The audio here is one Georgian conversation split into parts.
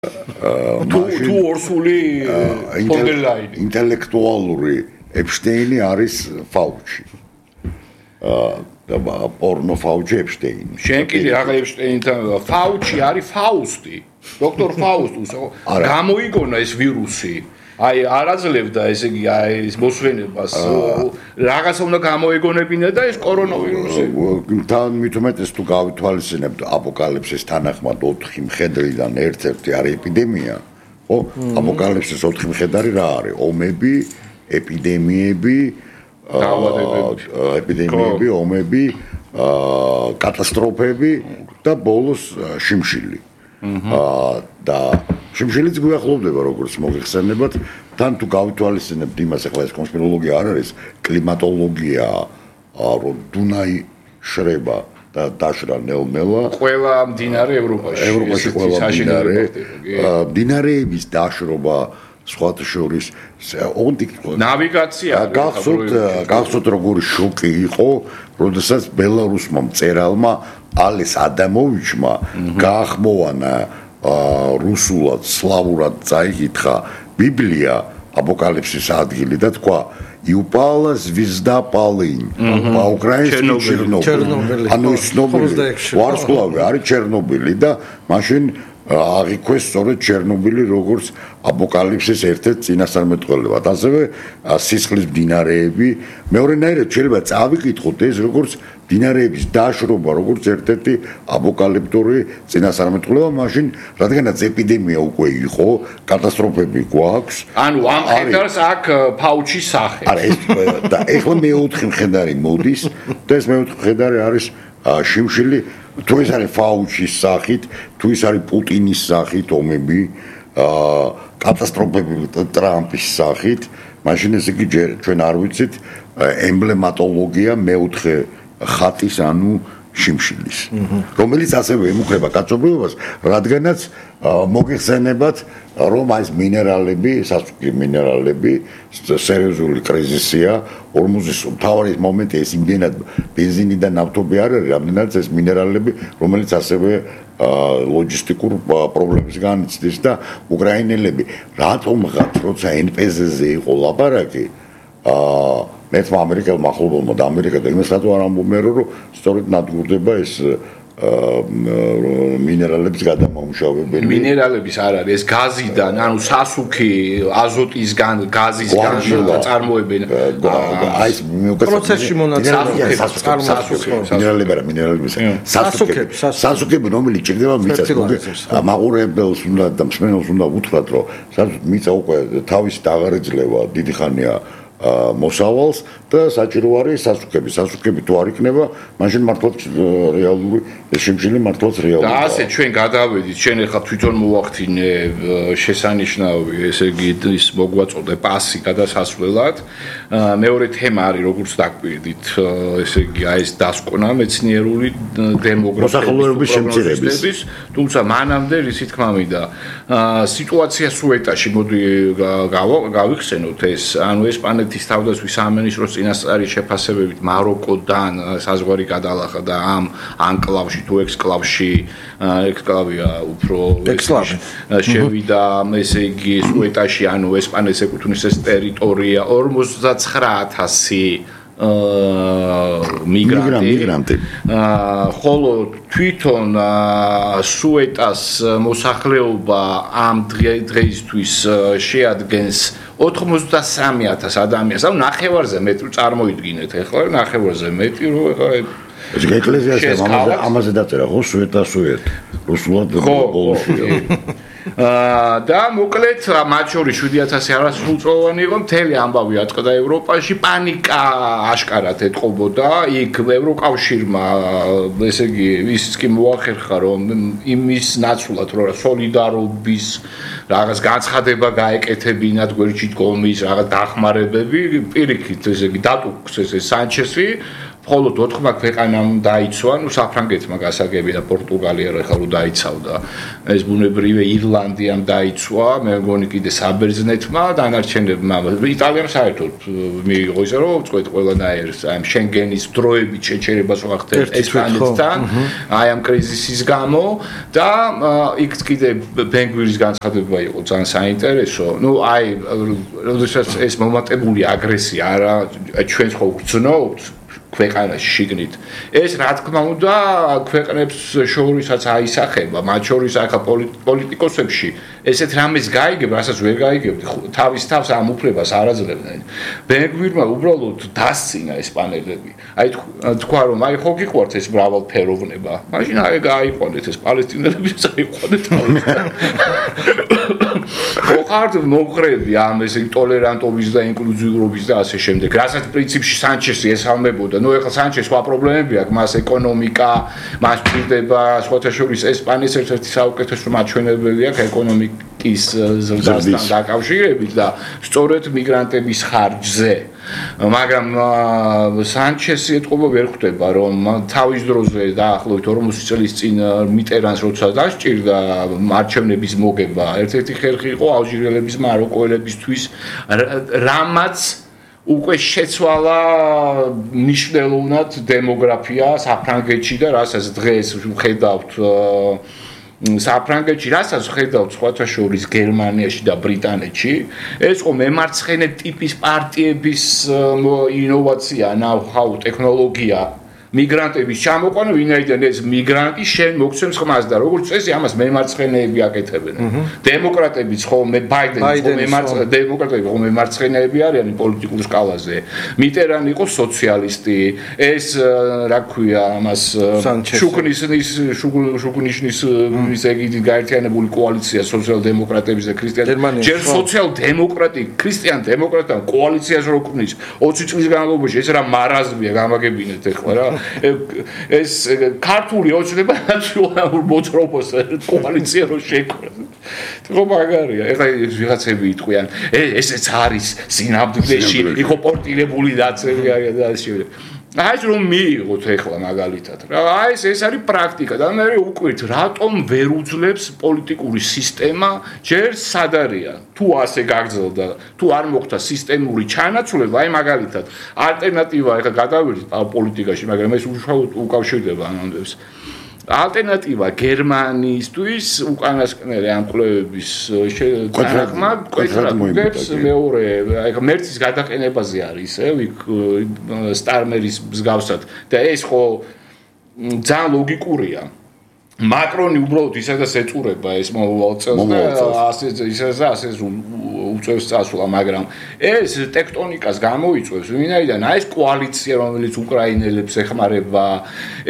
თუ ორსული ფონდერლაინი ინტელექტუალური ეპშტეინი არის ფაუჩი. და პორნო ფაუჩი ეპშტეინი. შენ კიდე აღარ ეპშტეინთან ფაუჩი არის ფაუსტი. დოქტორ ფაუსტუს გამოიგონა ეს ვირუსი. აი არაძლევდა ესე იგი აი ეს მოსვენებას რაღაცა უნდა გამოეგონებინა და ეს კორონავირუსი. თან მithumetes თუ გავითვალისწინებთ აპოკალიფსის თანახმად 4 მხედრიდან ერთ-ერთი არის ეპიდემია, ხო? აპოკალიფსის 4 მხედარი რა არის? ომები, ეპიდემიები, ომები, კატასტროფები და ბოლოს შიმშილი. და შიმშილიც გვიახლოვდება როგორც მოიხსენებათ თან თუ გავითვალისწინებთ იმას ახლა ეს კონსპიროლოგია არ არის კლიმატოლოგია რომ დუნაი შრება და დაშრა ნელ-ნელა ყველა მდინარე ევროპაში ყველა მდინარეების დაშრობა სხვათა შორის ნავიგაცია გახსოვთ როგორი შოკი იყო როდესაც ბელარუსმა მწერალმა ალეს ადამოვიჩმა გაახმოვანა რუსულად სლავურად წაიკითხა ბიბლია აპოკალიფსის ადგილი და თქვა იუპალა звезда полынь по-украински ჩერნობილი ანუ ცნობილი ვარსკვლავი არის ჩერნობილი და მაშინ აღიქვეს სწორედ ჩერნობილი როგორც აპოკალიფსის ერთ-ერთი წინასწარმეტყველებად ასევე სისხლის მდინარეები მეორენაირად შეიძლება წავიკითხოთ ეს როგორც მდინარეების დაშრობა როგორც ერთ-ერთი აპოკალიფტური წინასწარმეტყველება მაშინ რადგანაც ეპიდემია უკვე იყო კატასტროფები გვაქვს ანუ ამ ხედარს აქ ფაუჩის სახე არა ეს და ეხლა მეოთხე მხედარი მოდის და ეს მეოთხე მხედარი არის შიმშილი თუ ეს არის ფაუჩის სახით თუ ეს არის პუტინის სახით ომები კატასტროფები ტრამპის სახით მაშინ ეს იგი ჩვენ არ ვიცით ემბლემატოლოგია მეოთხე ხატის ანუ შიმშილის რომელიც ასევე ემუქრება კაცობრიობას რადგანაც მოგიხსენებათ რომ ეს მინერალები სასუქი მინერალები სერიოზული კრიზისია ორმუზის მთავარი მომენტი ეს იმდენად ბენზინი და ნავთობი არ არის რამდენადაც ეს მინერალები რომელიც ასევე ლოჯისტიკურ პრობლემებს განიცდის და უკრაინელები რატომღაც როცა NPZ-ზე იყო ლაპარაკი მეცმა ამერიკელმა ახლობელმა და ამერიკა და იმას რატო არ ამბობენ რომ სწორედ ნადგურდება ეს მინერალების გადამამუშავებელი მინერალების არ არის ეს გაზიდან ანუ სასუქი აზოტისგან გაზისგან წარმოებენ აი ეს პროცესში მონაწილეობენ მინერალების სასუქები რომელიც ჭირდება მიწას მაყურებელს უნდა და მსმენელს უნდა უთხრათ რომ მიწა უკვე თავისით აღარ ეძლევა დიდი ხანია მოსავალს და საჭირო არის სასუქები თუ არ იქნება მაშინ მართლაც რეალური შიმშილი მართლაც რეალურია და ასე ჩვენ გადავედით შენ ახლა თვითონ მოახდინე შესანიშნავი ესე იგი ის მოგვაწოდე პასი გადასასვლელად მეორე თემა არის როგორც დაგვირდით ესე იგი აი ეს დასკვნა მეცნიერული დემოგრაფიის შემცირების თუმცა მანამდე ისი თქმა მინდა სიტუაცია სუეტაში მოდი გავიხსენოთ ეს ანუ ესპანეთის თავდაცვის სამინისტროს წინასწარი შეფასებებით მაროკოდან საზღვარი გადალახა და ამ ანკლავში თუ ექსკლავში ექსკლავია უფრო შევიდა ესე იგი სუეტაში ანუ ესპანეთის ეკუთვნის ეს ტერიტორია 59000 მიგრანტი ხოლო თვითონ სუეტას მოსახლეობა ამ დღეისთვის შეადგენს 83000 ადამიანს ანუ ნახევარზე მეტი წარმოიდგინეთ ახლა ნახევარზე მეტი რომ ახლა ეს ეკლესიაში ამაზე დაწერა ხო სუეტა რუსულად ბოლოშია და მოკლედ მათ შორის 7000 არასრულწლოვანი იყო მთელი ამბავი აწყდა ევროპაში პანიკა აშკარად ეტყობოდა იქ ევროკავშირმა ესე იგი ის კი მოახერხა რომ იმის ნაცვლად რომ სოლიდარობის რაღაც განცხადება გაეკეთებინათ გვერდში დგომის რაღაც დახმარებები პირიქით ესე იგი დატუქს ეს სანჩესი მხოლოდ 4 ქვეყანამ დაიცვა, საფრანგეთმა გასაგები და პორტუგალია ახლა რო დაიცავდა. ეს ბუნებრივია ირლანდიამ დაიცვა, მე მგონი კიდე საბერძნეთმა, დანარჩენებმა, იტალიამ საერთოდ მიიღო ისე რომ წყვეტ ყველანაირ ამ შენგენის დროებით შეჩერებას ვახდეთ ესპანეთთან, აი ამ კრიზისის გამო და იქ კიდე ბენგვირის განცხადება იყო ძალიან საინტერესო. აი, როდესაც ეს მომატებული აგრესია არა ჩვენს ხო გძნობთ ქვეყანაში შიგნით. ეს რა თქმა უნდა ქვეყნებს შორისაც აისახება, მათ შორის ახლა პოლიტიკოსებში ესეთ რამეს გაიგებ, რასაც ვერ გაიგებთ, თავის თავს ამ უფლებას არ აძლევდნენ. ბენგვირმა უბრალოდ დასცინა ესპანელები. აი თქვა რომ აი ხო გიყვართ ეს მრავალფეროვნება. მაშინ აი გაიყვანეთ ეს პალესტინელებიც აიყვანეთ. ხართ მოყრები ამ ეს ტოლერანტობის და ინკლუზიურობის და ასე შემდეგ. რასაც პრინციპში სანჩესი ესალმებოდა. ნუ ეხლა სანჩეს სხვა პრობლემები აქვს, მას ეკონომიკა, მას ჭირდება სხვათა შორის ესპანეთის ერთ-ერთი საუკეთესო მაჩვენებელი აქვს ეკონომიკის ზრდასთან დაკავშირებით და სწორედ მიგრანტების ხარჯზე. მაგრამ სანჩესი ეთყობა ვერ ხვდება რომ თავის დროზე დაახლოებით 40 წლის წინ მიტერანს როცა დასჭირდა არჩევნების მოგება ერთ-ერთი ხერხი იყო ალჟირელების მაროკოელებისთვის რამაც უკვე შეცვალა მნიშვნელოვნად დემოგრაფია საფრანგეთში და რასაც დღეს ვხედავთ საფრანგეთში, რასაც ხედავთ სხვათა შორის გერმანიაში და ბრიტანეთში, ეს ყო მემარცხენე ტიპის პარტიების ინოვაცია, ნაუ-ჰაუ, ტექნოლოგია, მიგრანტების ჩამოყვანა, ვინაიდან ეს მიგრანტი შენ მოგცემს ხმას და როგორც წესი ამას მემარცხენეები აკეთებენ. დემოკრატებიც ხოლმე ბაიდენი დემოკრატები ხოლმე მემარცხენეები არიან პოლიტიკურ სკალაზე. მიტერანი იყო სოციალისტი, ეს რა ქვია ამას შუგნიშნის ისეგიდი გაერთიანებული კოალიცია სოციალ-დემოკრატების და ქრისტიანების ჯერ სოციალ-დემოკრატი ქრისტიან-დემოკრატთან კოალიციას რო ქმნის 20 წლის განმავლობაში ეს რა მარაზმია გამაგებინეთ ეხლა რა ეს ქართული ოცნება ნაციონალურ მოძრაობას კოალიცია რო შექმნას. ხო მაგარია. ეხლა ვიღაცები იტყვიან, ესეც არის სინამდვილეში იყო პორტირებული დაცემი და ასე შემდეგ. აი ეს რომ მიიღოთ ეხლა მაგალითად რა აი ეს არის პრაქტიკა და მე უკვირთ რატომ ვერ უძლებს პოლიტიკური სისტემა ჯერ სად არის თუ ასე გაგრძელდა თუ არ მოხდა სისტემური ჩანაცვლება აი მაგალითად ალტერნატივა ეხლა გადავიდეთ პოლიტიკაში მაგრამ ეს უშუალოდ უკავშირდება ამბებს ალტერნატივა გერმანიისთვის უკანასკნელი ამ კვლევების კვეთრად მეორე აი მერცის გადაყენებაზე არის იქ სტარმერის მსგავსად და ეს ხო ძალიან ლოგიკურია მაკრონი უბრალოდ ისედაც ეწურება ეს მომავალ წელს და ასე უწევს წასვლა მაგრამ ეს ტექტონიკას გამოიწვევს ვინაიდან აი ეს კოალიცია რომელიც უკრაინელებს ეხმარება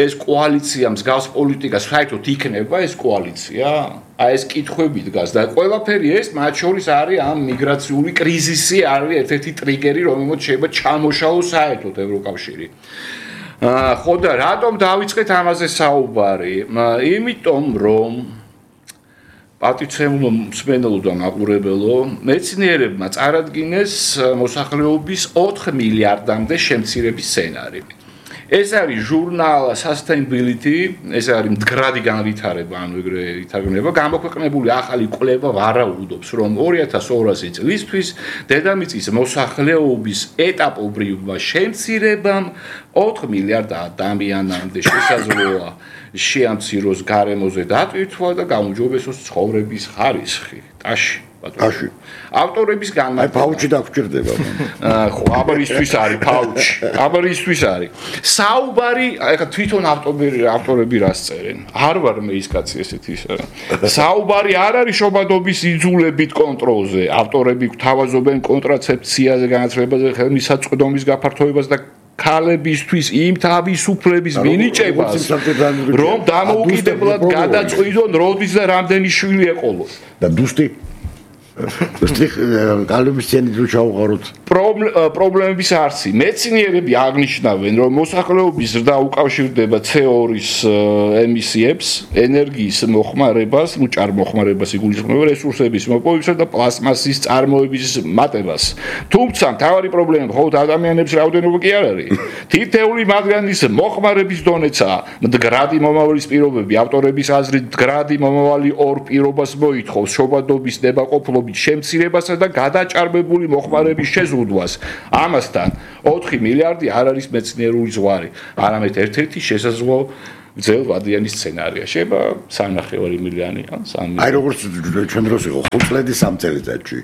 ეს კოალიცია მსგავს პოლიტიკას საერთოდ იქნება ეს კოალიცია აი ეს კითხვები დგას და ყველაფერი ეს მათ შორის არის ამ მიგრაციული კრიზისი არის ერთ-ერთი ტრიგერი რომელმაც შეიძლება ჩამოშალოს საერთოდ ევროკავშირი ხო და რატომ დავიწყეთ ამაზე საუბარი? იმიტომ რომ პატიცემულო მსმენელო და მაყურებელო მეცნიერებმა წარადგინეს მოსახლეობის 4 მილიარდამდე შემცირების სცენარი. ეს არის ჟურნალ Sustainability, ეს არის მდგრადი განვითარება, ანუ ეგრე ითარგმნება, გამოქვეყნებული ახალი კვლევა ვარაუდობს, რომ 2200 წლისთვის დედამიწის მოსახლეობის ეტაპობრივ შემცირებამ 4 მილიარდ ადამიანამდე შესაძლოა შეამციროს გარემოზე დატვირთვა და გაუმჯობესოს ცხოვრების ხარისხი. ტაში ავტორების განმარტება. ფაუჩი დაგჭირდება. ხო, აბარისთვის არის ფაუჩი. აბარისთვის არის. საუბარი, ეხლა თვითონ ავტორები რას წერენ? არ ვარ მე ის კაცი ესეთი ისე. საუბარი არ არის შობადობის იძულებით კონტროლზე. ავტორები გვთავაზობენ კონტრაცეფციაზე, განათლებაზე, ხელმისაწვდომის გაფართოებას და ქალებისთვის იმ თავისუფლების მინიჭებას რომ დამოუკიდებლად გადაწყვიტონ როდის და რამდენი შვილი ეყოლოს. და დუსტი გალების ცენი თუ ჩაუყაროთ პრობლემების არსი. მეცნიერები აღნიშნავენ, რომ მოსახლეობის ზრდა უკავშირდება CO2-ის ემისიებს, ენერგიის მოხმარებას, ჭარბმოხმარებას იგულისხმება, რესურსების მოპოვებასა და პლასმასის წარმოების მატებას. თუმცა მთავარი პრობლემა მხოლოდ ადამიანების რაოდენობა კი არ არის. თითეული მათგანის მოხმარების დონეცაა. მდგრადი მომავლის პირობები, ავტორების აზრით, მდგრადი მომავალი ორ პირობას მოითხოვს: შობადობის ნებაყოფლობის შემცირებასა და გადაჭარბებული მოხმარების შეზღუდვას. ამასთან 4 მილიარდი არ არის მეცნიერული ზღვარი, არამედ ერთ-ერთი შესაძლო გრძელვადიანი სცენარია. შეიძლება 3.5 მილიონი ან 3 მილიონი. აი როგორც ჩვენ დროს იყო 5 წლედი 3 წელიწადში.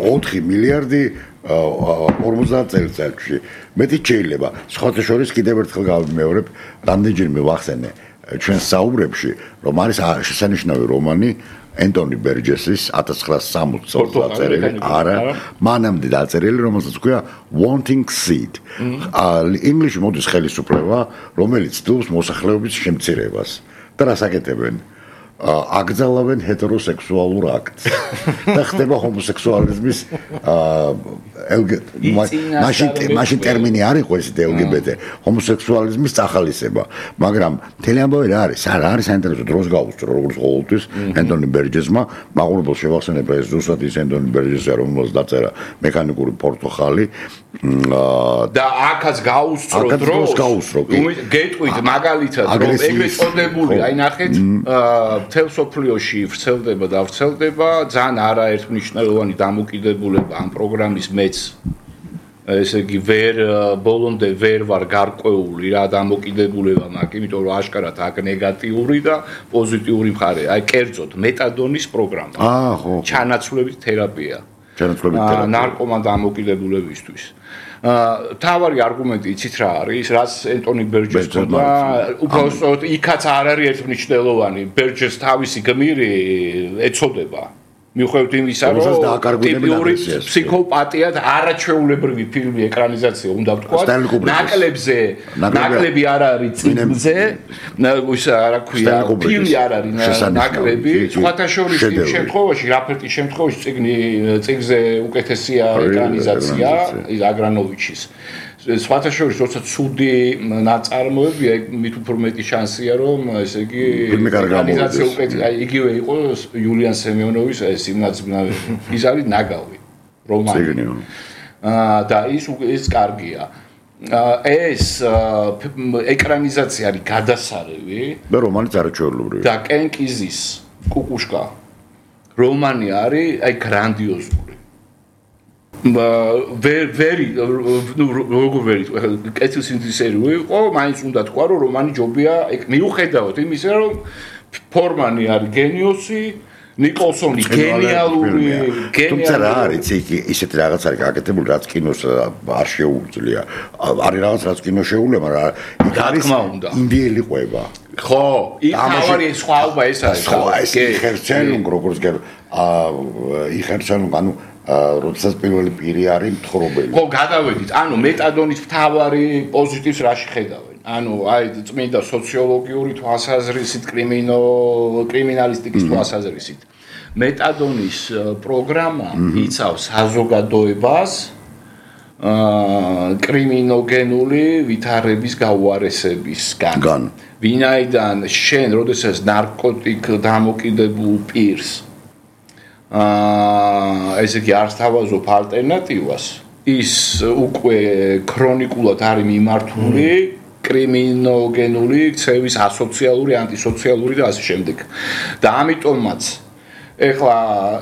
4 მილიარდი 50 წელიწადში. მეტი შეიძლება. სხვათა შორის კიდევ ერთხელ გავიმეორებ, რამდენჯერმე ვახსენე ჩვენ საუბრებში, რომ არის შესანიშნავი რომანი ენტონი ბერჯესის 1960 წელს დაწერილი, არა, მანამდე დაწერილი, რომელსაც ქვია Wanting Seed. ინგლისში მოდის ხელისუფლება, რომელიც ცდილობს მოსახლეობის შემცირებას. და რას აკეთებენ? აკრძალავენ ჰეტეროსექსუალურ აქტს და ხდება ჰომოსექსუალიზმის მაშინ ტერმინი არ იყო ესეთი LGBT ჰომოსექსუალიზმის წახალისება, მაგრამ მთელი ამბავი რა არის? არის საინტერესო დროს გაუსწრო როგორც ყოველთვის ენტონი ბერჯესმა, მაყურებელს შევახსენებ ეს ზუსტად ის ენტონი ბერჯესია, რომელსაც დაწერა მექანიკური პორტოხალი და აქაც გაუსწრო დროს გეტყვით მაგალითად რომ ეგრეთ წოდებული აი ნახეთ მთელ სოფლიოში ვრცელდება და ვრცელდება ძალიან არაერთმნიშვნელოვანი დამოკიდებულება ამ პროგრამის მეც ესე იგი ბოლომდე ვერ ვარ გარკვეული რა დამოკიდებულება მაქვს, იმიტომ რომ აშკარად აქ ნეგატიური და პოზიტიური მხარე. აი კერძოდ მეტადონის პროგრამა. ხო. ჩანაცვლებით თერაპია. ნარკომან დამოკიდებულებისთვის. თავარი არგუმენტი იცით რა არის, რაც ენტონი ბერჯეს თქონდა, უბრალოდ იქაც არ არის ერთმნიშვნელოვანი. ბერჯეს თავისი გმირი ეწოდება. მიუხედავად იმისა, რომ ტიპიური ფსიქოპატიად არაჩვეულებრივი ფილმი ეკრანიზაცია უნდა ვთქვა, ნაკლები არ არის წიგნზე, რა ქვია, ფილმი არ არის ნაკლები, სხვათა შორის იმ შემთხვევაში, რაფერტის შემთხვევაში წიგნზე უკეთესია ეკრანიზაცია აგრანოვიჩის. სხვათა შორის, როცა ცუდი ნაწარმოებია, მით უფრო მეტი შანსია, რომ ესე იგი ეკრანიზაცია უკეთესია. იგივე იყო იულიან სემიონოვის ეს იმნაცბნავი. ის არის ნაგავი რომანი. და ის კარგია. ეს ეკრანიზაცია არის გადასარევი და რომანიც არაჩვეულებრივი. და კენკიზის კუკუშკა რომანი არის აი გრანდიოზული. როგორ ვერი კეთილ სინთეზერი იყო, მაინც უნდა თქვა, რომ რომანი ჯობია მიუხედავად იმისა, რომ ფორმანი არის გენიოსი, ნიკოლსონი გენიალური, თუმცა რა არის იქ ისეთი რაღაც არის გაკეთებული, რაც კინოს არ შეუძლია. არის რაღაც რაც კინოს შეუძლია, მაგრამ იქ არის ინდიელი ყვება. ხო, იქ თავარი სხვაობა ეს არის. ხო, ეს იხერცელუნ როგორც იხერცელუნ, ანუ როდესაც პირველი პირი არის მთხრობელი. ხო, გადავედით. ანუ მეტადონის მთავარი პოზიტივს რაში ხედავენ? ანუ აი წმინდა სოციოლოგიური თვალსაზრისით, კრიმინალისტიკის თვალსაზრისით. მეტადონის პროგრამა იცავს საზოგადოებას კრიმინოგენული ვითარების გაუარესებისგან. ვინაიდან შენ, როდესაც ნარკოტიკ დამოკიდებულ პირს ესე იგი არ სთავაზობ ალტერნატივას, ის უკვე ქრონიკულად არის მიმართული კრიმინოგენული ქცევის ასოციალური, ანტისოციალური და ასე შემდეგ. და ამიტომაც ეხლა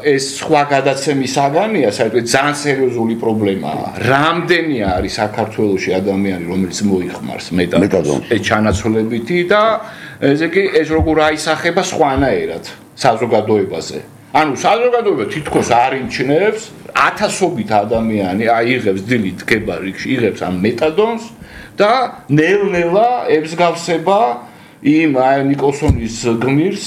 ეს სხვა გადაცემის საგანია, საერთოდ ძალიან სერიოზული პრობლემაა. რამდენი არის საქართველოში ადამიანი, რომელიც მოიხმარს მეტადონს? ეს ჩანაცვლებითი და ესე იგი ეს როგორ აისახება სხვანაირად საზოგადოებაზე. ანუ საზოგადოება თითქოს არ იმჩნევს, ათასობით ადამიანი აიღებს დილით დგება რიგში, იღებს ამ მეტადონს და ნელ-ნელა ებსგავსება იმ ნიკოლსონის გმირს,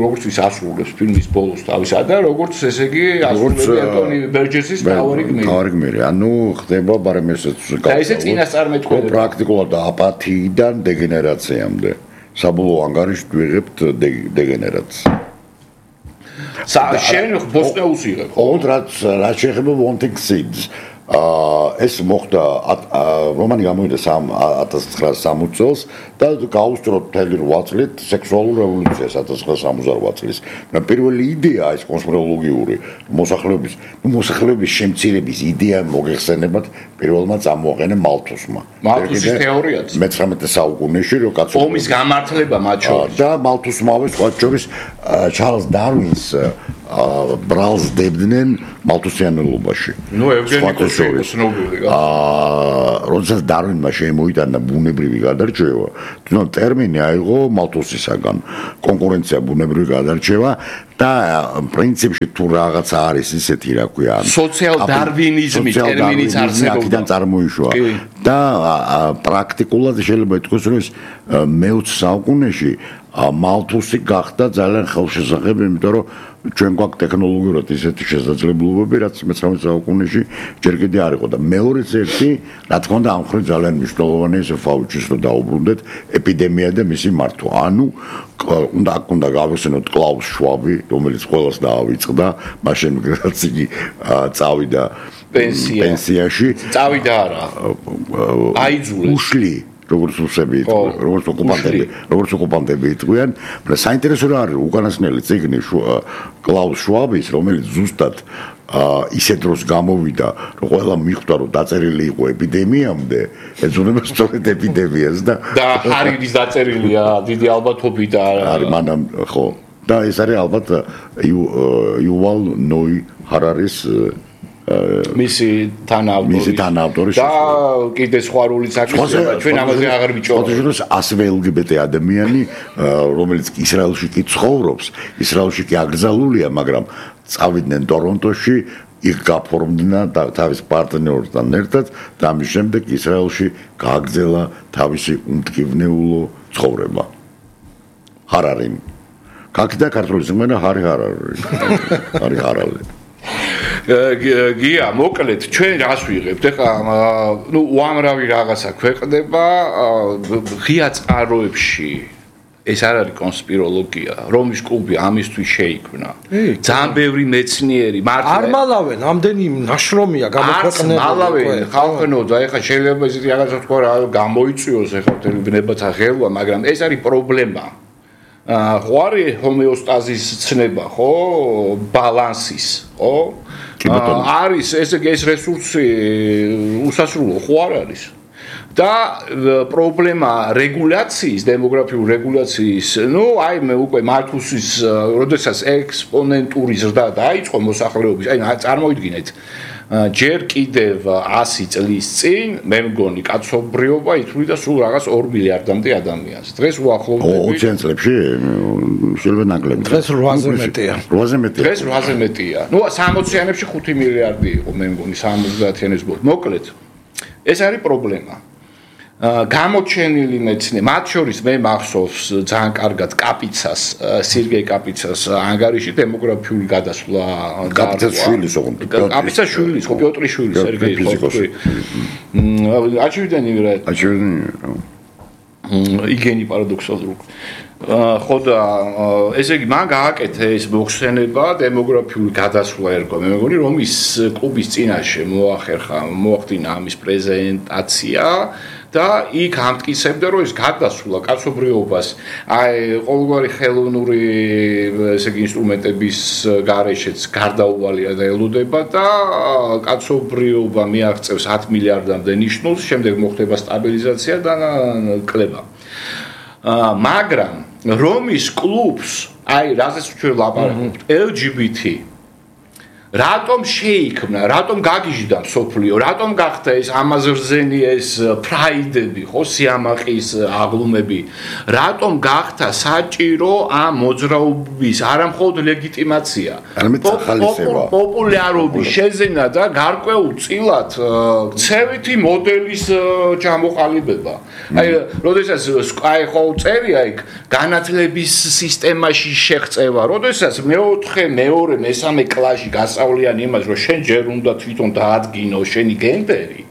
როგორც ის ასრულებს ფილმის ბოლოს თავისა და როგორც ესე იგი ასრულებს ენტონი ბერჯესის თავარი გმირი. ანუ ხდება ბარემ ესეც და ესე წინასწარმეტყველება პრაქტიკულად აპათიიდან დეგენერაციამდე. საბოლოო ანგარიშით ვიღებთ დეგენერაციას. შენ ბოსტნეულს იღებ ხო? ოღონდ რაც შეეხება Wanting Seeds ეს მოხდა რომანი გამოვიდა 1960 წელს და გაუსწროთ მთელი 8 წლით სექსუალურ რევოლუციას 1968 წლის. პირველი იდეა ეს კონსპიროლოგიური მოსახლეობის შემცირების იდეა მოგეხსენებათ პირველმა წამოაყენა მალთუსმა. მალთუსის თეორიაც მე-19 საუკუნეში რო კაცო ომის გამართლება მათ შორის და მალთუსმავე სხვა შორის ჩარლზ დარვინს ბრალს დებდნენ მალთუსიანელობაში. ნუ ევგენი ცნობილი როდესაც დარვინმა შემოიტანა ბუნებრივი გადარჩევა, თუნდაც ტერმინი აიღო მალთუსისაგან კონკურენცია ბუნებრივი გადარჩევა და პრინციპში თუ რაღაცა არის ისეთი რა ქვია სოციალ-დარვინიზმი ტერმინიც არსებობდა აქედან წარმოიშვა და პრაქტიკულად შეიძლება ითქვას რომ მე-20 საუკუნეში მალთუსი გახდა ძალიან ხელშესახები, იმიტომ რომ ჩვენ გვაქვს ტექნოლოგიურად ისეთი შესაძლებლობები, რაც მე-19 საუკუნეში ჯერ კიდევ არ იყო და მეორეც ერთი, რა თქმა უნდა, ამ ხრი ძალიან მნიშვნელოვანია ეს ფაუჩის რო დაუბრუნდეთ ეპიდემია და მისი მართვა. ანუ უნდა გავიხსენოთ კლაუს შვაბი, რომელიც ყველას დაავიწყდა, მაშინ რაც იგი წავიდა პენსიაში. წავიდა არა. აიძულეს. უშლი როგორც რუსები, როგორც ოკუპანტები იყვნენ, მაგრამ საინტერესო რა არის უკანასკნელი წიგნი კლაუს შვაბის, რომელიც ზუსტად ისეთ დროს გამოვიდა, რომ ყველა მიხვდა, რომ დაწერილი იყო ეპიდემიამდე, ეძღვნება სწორედ ეპიდემიას და ჰარირის დაწერილია დიდი ალბათობით არის მანამ ხო და ეს არის ალბათ იუვალ ნოი ჰარარის მისი თანაავტორი და კიდე სხვა როლი საკითხია ჩვენ ამაზე აღარ ვიჭობთ. ასევე LGBT ადამიანი რომელიც ისრაელში კი ცხოვრობს, ისრაელში კი აკრძალულია, მაგრამ წავიდნენ ტორონტოში, იქ გაფორმდნენ თავის პარტნიორთან ერთად და ამის შემდეგ ისრაელში გააგრძელა თავისი უმტკივნეულო ცხოვრება. ჰარარიმ. კაკდა ქართული სიმღერა ჰარი ჰარალი. გია მოკლედ ჩვენ რას ვიღებთ ეხლა ნუ უამრავი რაღაცა ქვეყნდება ღია წყაროებში ეს არ არის კონსპიროლოგია რომის კლუბი ამისთვის შეიქმნა ძალიან ბევრი მეცნიერი არ მალავენ ამდენი ნაშრომია გამოქვეყნებული მალავენ ხალხნო და ეხლა შეიძლება ისეთი რაღაცა თქვა რა გამოიწვიოს ეხლა მთელი ბნებათა ღელვა მაგრამ ეს არის პრობლემა ხო არის ჰომეოსტაზის ცნება ხო ბალანსის ხო არის ესე ეს რესურსი უსასრულო ხო არ არის და პრობლემა რეგულაციის დემოგრაფიული რეგულაციის ნუ აი მე უკვე მალთუსის როდესაც ექსპონენტური ზრდა დაიწყო მოსახლეობის აი წარმოიდგინეთ ჯერ კიდევ 100 წლის წინ მე მგონი კაცობრიობა ითვლიდა სულ რაღაც 2 მილიარდამდე ადამიანს. დღეს უახლოვდებით 20 წლებში შეიძლება ნაკლები. დღეს 8-ზე მეტია. 8-ზე მეტია. დღეს 8-ზე მეტია. ნუ 60-იანებში 5 მილიარდი იყო მე მგონი 70-იანებს ბოლოს. მოკლედ ეს არის პრობლემა. გამოჩენილი მეცნიერი, მათ შორის მე მახსოვს ძალიან კარგად კაპიცას, სერგეი კაპიცას ანგარიში დემოგრაფიული გადასვლა კაპიცას შვილის ოღონდ. კაპიცას შვილის, ხო პიოტრის შვილის სერგეი ხო. აჩვენდენი რა. იგენი პარადოქსალურ. ხო და ესე იგი მან გააკეთა ეს მოხსენება დემოგრაფიული გადასვლა ერქვა. მე მგონი რომ ის კლუბის წინაშე მოახდინა ამის პრეზენტაცია და იქ ამტკიცებდა რომ ეს გადასვლა კაცობრიობას აი ყოველგვარი ხელოვნური ესე იგი ინსტრუმენტების გარეშეც გარდაუვალია და ელოდება და კაცობრიობა მიაღწევს 10 მილიარდამდე ნიშნულს, შემდეგ მოხდება სტაბილიზაცია და კლება. მაგრამ რომის კლუბს აი რაზეც ჩვენ ლაპარაკობთ LGBT რატომ შეიქმნა, რატომ გაგიჟდა მსოფლიო, რატომ გახდა ეს ამაზრზენი ეს პრაიდები, ხო, სიამაყის აღლუმები, რატომ გახდა საჭირო ამ მოძრაობის არამხოლოდ ლეგიტიმაცია, პოპულარობის შეძენა და გარკვეულ წილად ქცევითი მოდელის ჩამოყალიბება. აი, როდესაც აი ხო წერია იქ განათლების სისტემაში შეღწევა, როდესაც მეოთხე, მეორე, მესამე კლასში გასავლიანი იმას, რომ შენ ჯერ უნდა თვითონ დაადგინო შენი გენდერი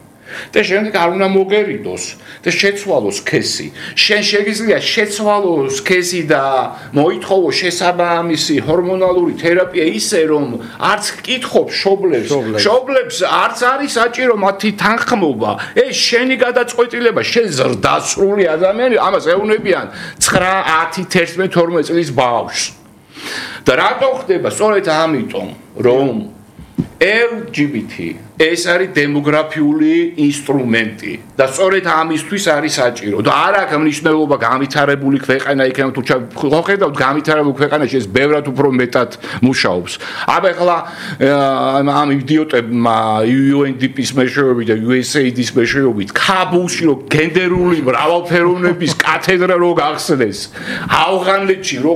და შემდეგ არ უნდა მოგერიდოს და შეცვალოს სქესი. შენ შეგიძლია შეცვალოს სქესი და მოითხოვო შესაბამისი ჰორმონალური თერაპია ისე რომ არც კითხობს შობლებს არც არის საჭირო მათი თანხმობა. ეს შენი გადაწყვეტილება, შენ ზრდასრული ადამიანი, ამას ეუბნებიან 9, 10, 11, 12 წლის ბავშვს. და რატო ხდება? სწორედ ამიტომ, რომ LGBT ეს არის დემოგრაფიული ინსტრუმენტი და სწორედ ამისთვის არის საჭირო და არ აქვს მნიშვნელობა განვითარებული ქვეყანა იქნება თუ ხედავთ განვითარებულ ქვეყანაში ეს ბევრად უფრო მეტად მუშაობს. აბა ახლა ამ იდიოტებმა UNDP-ის მეშვეობით და USAID-ის მეშვეობით ქაბულში რო გენდერული მრავალფეროვნების კათედრა რო გახსნეს ავღანეთში რო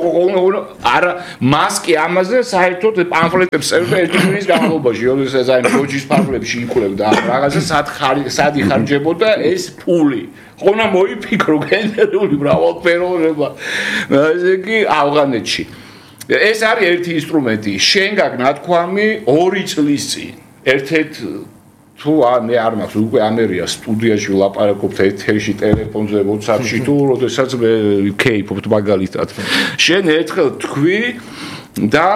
არა მასკი ამაზე საერთოდ პამფლეტებს წერდა ერთი თვის განმავლობაში როდესაც აი როჯის პამფლეტებში იკვლევდა რაღაცა სად იხარჯებოდა ეს ფული ხონა მოიფიქრო გენდერული მრავალფეროვნება ესე იგი ავღანეთში ეს არის ერთი ინსტრუმენტი შენ გაქვს ნათქვამი 2 წლის წინ ერთ-ერთ თუ მე არ მაქვს უკვე ამერია სტუდიაში ვლაპარაკობთ ეთერში ტელეფონზე WhatsApp-ში თუ როდესაც მე ვქეიფობთ მაგალითად შენ ერთხელ თქვი და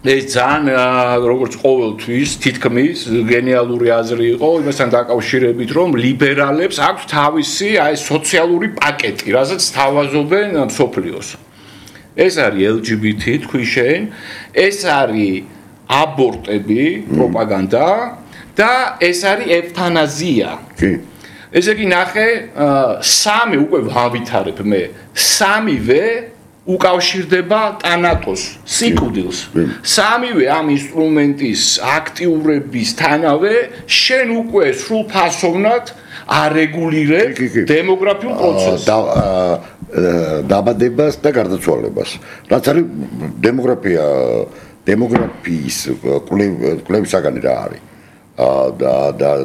ეს ძალიან როგორც ყოველთვის თითქმის გენიალური აზრი იყო იმასთან დაკავშირებით რომ ლიბერალებს აქვს თავისი აი სოციალური პაკეტი რასაც თავაზობენ მსოფლიოს ეს არის LGBT თქვი შენ ეს არის აბორტები პროპაგანდა და ეს არის ევთანაზია ესე იგი ნახე 3 უკვე ვავითარებ მე 3-ვე უკავშირდება ტანატოს სიკვდილს 3-ვე ამ ინსტრუმენტის აქტიურებისთანავე შენ უკვე სრულფასოვნად არეგულირებ დემოგრაფიულ პროცესს დაბადებას და გარდაცვალებას რაც არის დემოგრაფიის კვლევის საგანი რა არის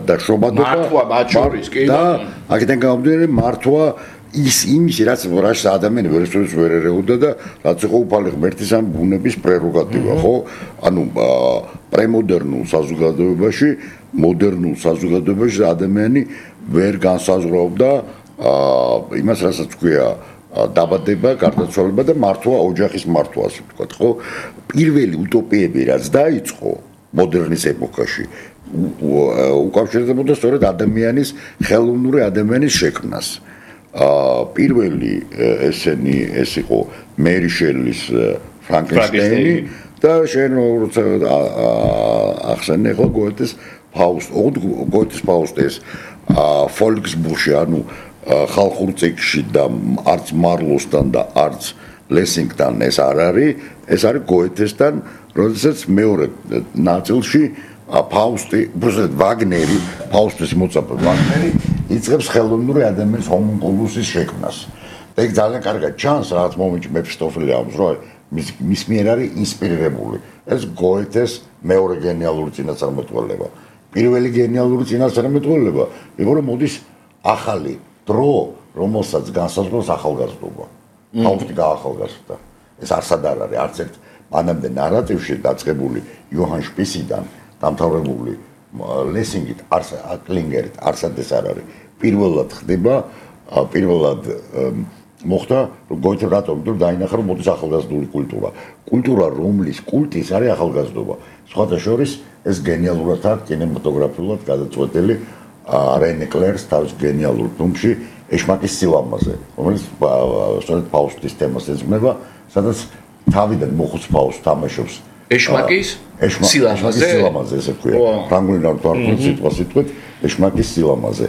და შრომადობა მართვა მათ შორის კი და აქედან გამომდინარე მართვა იმის რაც ადამიანი ვერასდროს ვერ ერეოდა და რაც იყო უფალი ღმერთის ან ბუნების პრეროგატივა ხო ანუ პრემოდერნულ საზოგადოებაში მოდერნულ საზოგადოებაში ადამიანი ვერ განსაზღვრავდა იმას რასაც ქვია დაბადება, გარდაცვალება და მართვა ოჯახის მართვა ასე ვთქვათ ხო პირველი უტოპიები რაც დაიწყო მოდერნის ეპოქაში უკავშირდებოდა სწორედ ადამიანის ხელოვნური ადამიანის შექმნას პირველი ესენი ეს იყო მერი შელის ფრანკენშტეინი და შენ ახსენე ხო გოეთეს ფაუსტეს ფოლკსბურში ანუ ხალხურ ცეკში და არც მარლოსთან და არც ლესინგთან ეს არ არის გოეთესთან როდესაც მეორე ნაწილში ფაუსტი უბრალოდ ვაგნერი ფაუსტის მოწაფე ვაგნერი იწყებს ხელოვნური ადამიანის ჰომუნკულუსის შექმნას და ეგ ძალიან კარგად ჩანს რაღაც მომენტში მეფისტოფელი ამბობს რომ მის მიერ არის ინსპირირებული ეს გოეთეს მეორე გენიალური წინასწარმეტყველება პირველი გენიალური წინასწარმეტყველება იყო რომ მოდის ახალი დრო რომელსაც განსაზღვრავს ახალგაზრდობა ფაუსტი გაახალგაზრდა ეს არსად არ არის არც ერთ მანამდე ნარატივში დაწყებული იოჰან შპისიდან დამთავრებული ლესინგით კლინგერით არსად ეს არ არის პირველად ხდება პირველად მოხდა გოეთე რატომ თუ დაინახა რომ მოდის ახალგაზრდული კულტურა რომლის კულტის არის ახალგაზრდობა სხვათა შორის ეს გენიალურად აქვს კინემატოგრაფიულად გადაწყვეტილი რენე კლერს თავის გენიალურ ფილმში ეშმაკის სილამაზე რომელიც სწორედ ფაუსტის თემას ეძღვნება სადაც თავიდან მოხუც ფაუსტ თამაშობს ეშმაკის სილამაზე ესე ქვია ფრანგულად არ სიტყვა სიტყვით ეშმაკის სილამაზე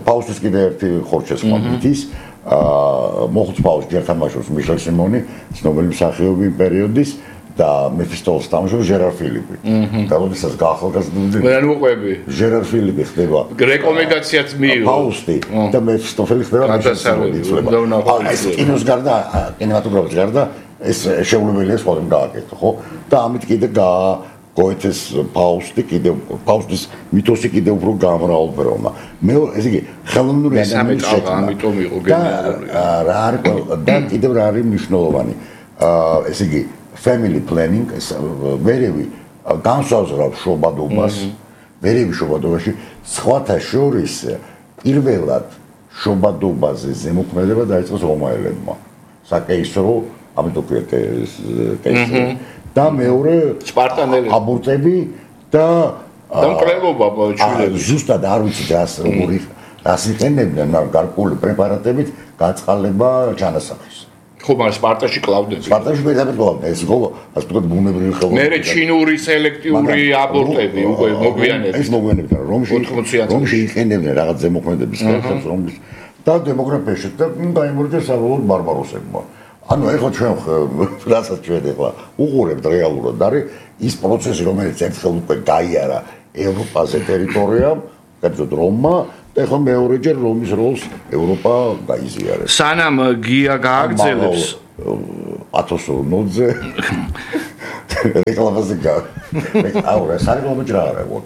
ფაუსტის კიდე ერთი ხორჩეს მომიტის მოხუც ფაუსტი ჯერ თამაშობს მიშელ სიმონი ცნობილი მსახიობი იმ პერიოდის და მეფისტოფელს თამაშობს ჟერარ ფილიპი და როდესაც გაახალგაზრდული მე არ მოყვები ჟერარ ფილიპი ხდება რეკომენდაციაც მიიღო ფაუსტი და მეფისტოფელი ხდება მიშელ სიმონი ეს კინოს გარდა კინემატოგრაფის გარდა ეს შეუძლებელია სხვადასხვა გააკეთო ხო და ამით კიდე გოეთეს ფაუსტის მითოსი კიდე უფრო გამრავლდა მე ესე იგი ხელოვნური ადამიანის შექმნა ამიტომ იყო გენიალური რა არის და კიდევ რა არის მნიშვნელოვანი ესე იგი family planning ეს ვერევი განსაზღვრავს შობადობას მერევი შობადობაში სხვათა შორის პირველად შობადობაზე ზემოქმედება დაიწყოს რომაელებმა საკეისრო ამიტომ ქვია კეისრო და მეორე სპარტანელები აბორტები და მკვლელობა ჩვილები ზუსტად არ ვიცი როგორი რას იყენებდნენ მაგრამ გარკვეული პრეპარატებით გაწყალება ჩანასახის ხო მაგრამ სპარტაში კლავდნენ სპარტაში მეტად კლავდნენ ეს ხო ასე ვთქვათ ბუნებრივი ხელოვნება მერე ჩინური სელექტიური აბორტები უკვე მოგვიანებით ეს მოგვიანებით რომში იყენებდნენ რაღაც ზემოქმედების ხელებს რომლის და დემოგრაფიაში და დაიმორჩა საბოლოოდ ბარბაროსებმა ანუ ეხლა ჩვენ რასაც ჩვენ ეხლა უყურებთ რეალურად არის ის პროცესი რომელიც ერთხელ უკვე გაიარა ევროპაზე ტერიტორიამ კერძოდ რომმა და ეხლა მეორეჯერ რომის როლს ევროპა გაიზიარებს სანამ გია გააგრძელებს ათოსონოძე რეკლამაზე აუ სარეკლამო ჯერ არ აქვს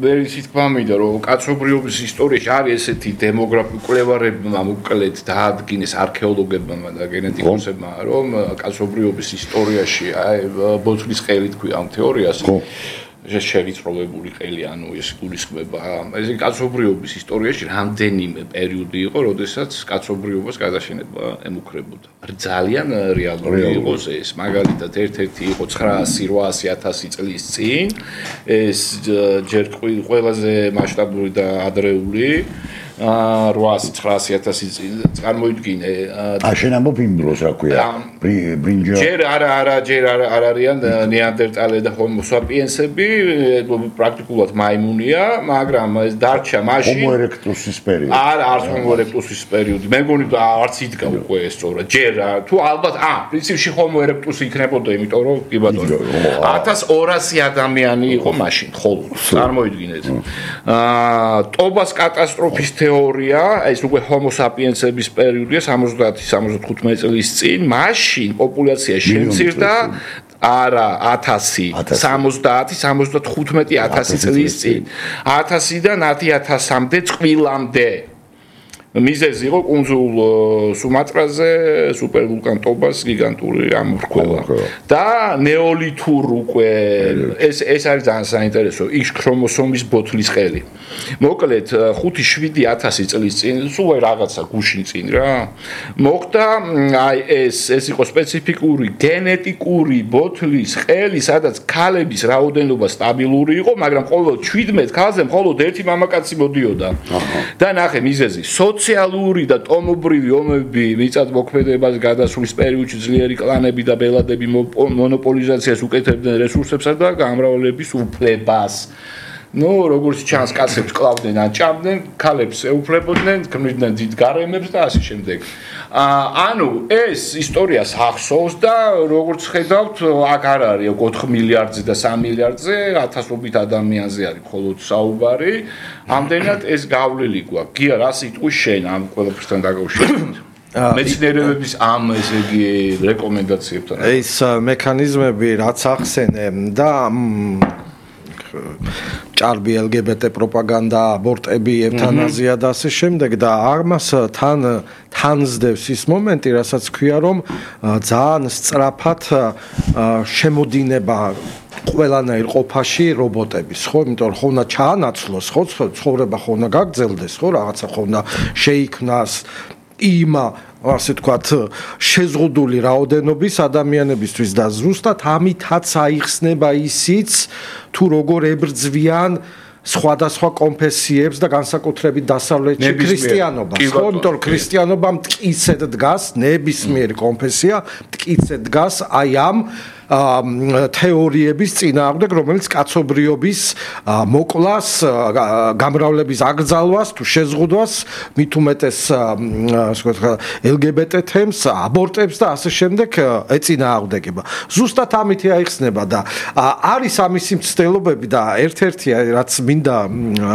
მე ისიც გვამიდა რომ კაცობრიობის ისტორიაში არის ესეთი დემოგრაფიული კვლევარებმა მოკლედ დაადგინეს არქეოლოგებმა და გენეტიკოსებმა რომ კაცობრიობის ისტორიაში აი ბოთლის ყელი თქვია ამ თეორიას შევიწროვებული ყელი ანუ ეს გულისხმება ეს კაცობრიობის ისტორიაში რამდენიმე პერიოდი იყო როდესაც კაცობრიობას გადაშენება ემუქრებოდა ძალიან რეალური იყო ეს მაგალითად ერთ-ერთი იყო 900-800 წლის წინ ეს ჯერ ყველაზე მასშტაბური და ადრეული 800-900 წინ წარმოიდგინე შენ ამბობ იმ დროს რა ქვია ბრინჯა ჯერ არ არიან ნეანდერტალები და ჰომო საპიენსები პრაქტიკულად მაიმუნია მაგრამ ეს დარჩა მაშინ ჰომო ერექტუსის პერიოდი არც ჰომო ერექტუსის პერიოდი მე მგონი არც იდგა უკვე ეს სწორად ჯერ თუ ალბათ პრინციპში ჰომო ერექტუსი იქნებოდა იმიტომ რომ კი ბატონო 1200 ადამიანი იყო მაშინ ხოლმე წარმოიდგინეთ ტობას კატასტროფის თეორია ეს უკვე ჰომო საპიენსების პერიოდია 70-75 წლის წინ მაშინ პოპულაცია შემცირდა არა 1000 70-75 წლის წინ 1000-დან 10000-მდე წყვილამდე მიზეზი იყო კუნძულ სუმატრაზე სუპერვულკან ტობას გიგანტური ამორქველა და ნეოლითურ უკვე ეს არის ძალიან საინტერესო X ქრომოსომის ბოთლის ყელი მოკლედ 5-7 წლის წინ სულ რაღაცა გუშინ წინ რა მოხდა აი ეს იყო სპეციფიკური გენეტიკური ბოთლის ყელი სადაც ქალების რაოდენობა სტაბილური იყო მაგრამ ყოველ 17 ქალზე მხოლოდ ერთი მამაკაცი მოდიოდა და ნახე მიზეზი სოციალური და ტომობრივი ომები მიწათმოქმედებას გადასვლის პერიოდში ძლიერი კლანები და ბელადები მონოპოლიზაციას უკეთებდნენ რესურსებსა და გამრავლების უფლებას. ნუ როგორც ჩანს კაცებს კლავდნენ ან ჭამდნენ, ქალებს ეუფლებოდნენ, ქმნიდნენ დიდ გარემებს და ასე შემდეგ. ანუ ეს ისტორიას ახსოვს და როგორც ხედავთ, აქ არ არის 4 მილიარდზე და 3 მილიარდზე, ათასობით ადამიანზე არის მხოლოდ საუბარი. ამდენად ეს გავლილი გვაქვს. გია რა სიტყვის შენ ამ ყველაფერთან დაკავშირებით? მეცნიერებების ამ ესე იგი რეკომენდაციებთან. ეს მექანიზმები რაც ახსენე და ჭარბი LGBT პროპაგანდა, აბორტები, ევთანაზია და ასე შემდეგ და ამას თანსდევს ის მომენტი, რასაც ქვია რომ ძალიან სწრაფად შემოდინება ყველანაირ ყოფაში რობოტების, ხო, იმიტომ რომ ხონა ჩაანაცვლოს, ხო, ცხოვრება ხონა გაგრძელდეს, ხო, რაღაცა ხონა შეიქმნას იმ ასე თქვათ შეზღუდული რაოდენობის ადამიანებისთვის და ზუსტად ამითაც აიხსნება ისიც თუ როგორ ებრძვიან სხვადასხვა კონფესიებს და განსაკუთრებით დასავლეთში ქრისტიანობას, ხო, იმიტომ რომ ქრისტიანობა მტკიცედ დგას, ნებისმიერი კონფესია მტკიცედ დგას აი ამ თეორიების წინააღმდეგ, რომელიც კაცობრიობის მოკლას, გამრავლების აკრძალვას თუ შეზღუდვას, მით უმეტეს ასე ვთქვათ, LGBT თემს, აბორტებს და ასე შემდეგ ეწინააღმდეგება. ზუსტად ამით აიხსნება და არის ამისი მცდელობები და ერთ-ერთი რაც მინდა